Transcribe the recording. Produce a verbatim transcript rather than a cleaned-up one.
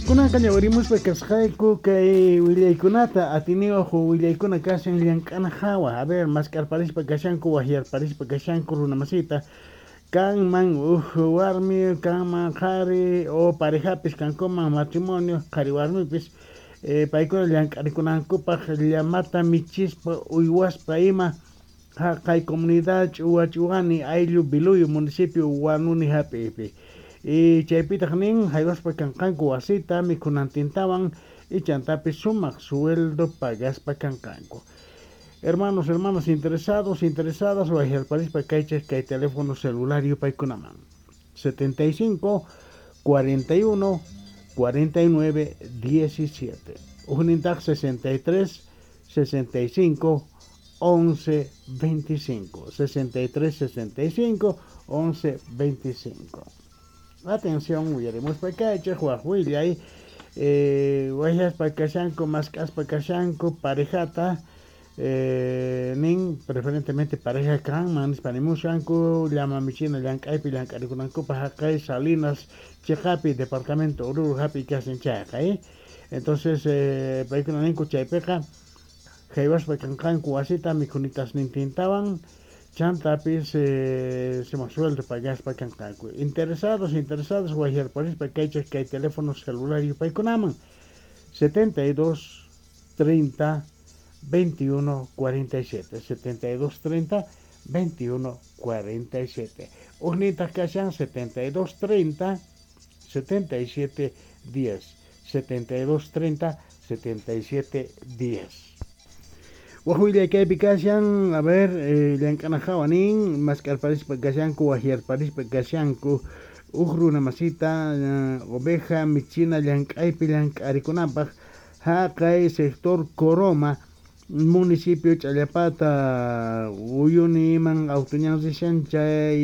Kunanqa ñawirimuspa kasqayku kay willaykunata atiniyuq willaykuna kashan llank'ana hawa. A ver, mask'arparispa kashanku, waqyarparispa kashanku runamasita kanman uj warmi, kanman qhari o parejapis kankuman matrimonio qhari warmipis eh, paykuna llank'arikunankupaq llamata michispa uywaspa ima haqay comunidad Ch'uwa Ch'uwani ayllu Biluyo municipio Huanuni hap'iypi. Y chaypitaq nin haywaspa kanqanku wasita mikhunantintawan y chantapis sumaq sueldo pagaspa kanqanku. Hermanos, hermanas interesados, interesadas, waqyarparispa kaychik kay teléfono celular yupaykunaman setenta y cinco cuarenta y uno cuarenta y nueve diecisiete. Ujnintaq sesenta y tres sesenta y cinco once veinticinco. sesenta y tres sesenta y cinco once veinticinco. Atención, uyarimuspa kaychik waq willay eh, waqyaspa kashanku, mask'aspa kashanku parejata eh, nin preferentemente pareja kanman nispa nimushanku llama michina llank'aypi llank'arikunankupaq haqay Salinas chiqapi departamento Oruro hapi kashan chayqa eh? Entonces eh, paykuna ninku chaypiqa haywaspa kanqanku wasita mikhunitasnintintawan chantapis eh, sumaq sueldo pagaspa kanqanku. Interesados, interesadas, waqyarparispa kaychik kay teléfono celular yupaykunaman setenta y dos treinta veintiuno cuarenta y siete, setenta y dos treinta veintiuno cuarenta y siete. Ujnintaq kashan setenta y dos treinta setenta y siete diez, setenta y dos treinta setenta y siete diez. Waq willay kaypi kashan, a ver, eh, llank'ana hawa nin, mask'arparispa kashanku, waqyarparispa kashanku uj runa masita uh, oveja michina llank'aypi llank'arikunanpaq haqay sector Coroma municipio Challapata Uyuniman auto ñan rishan chay.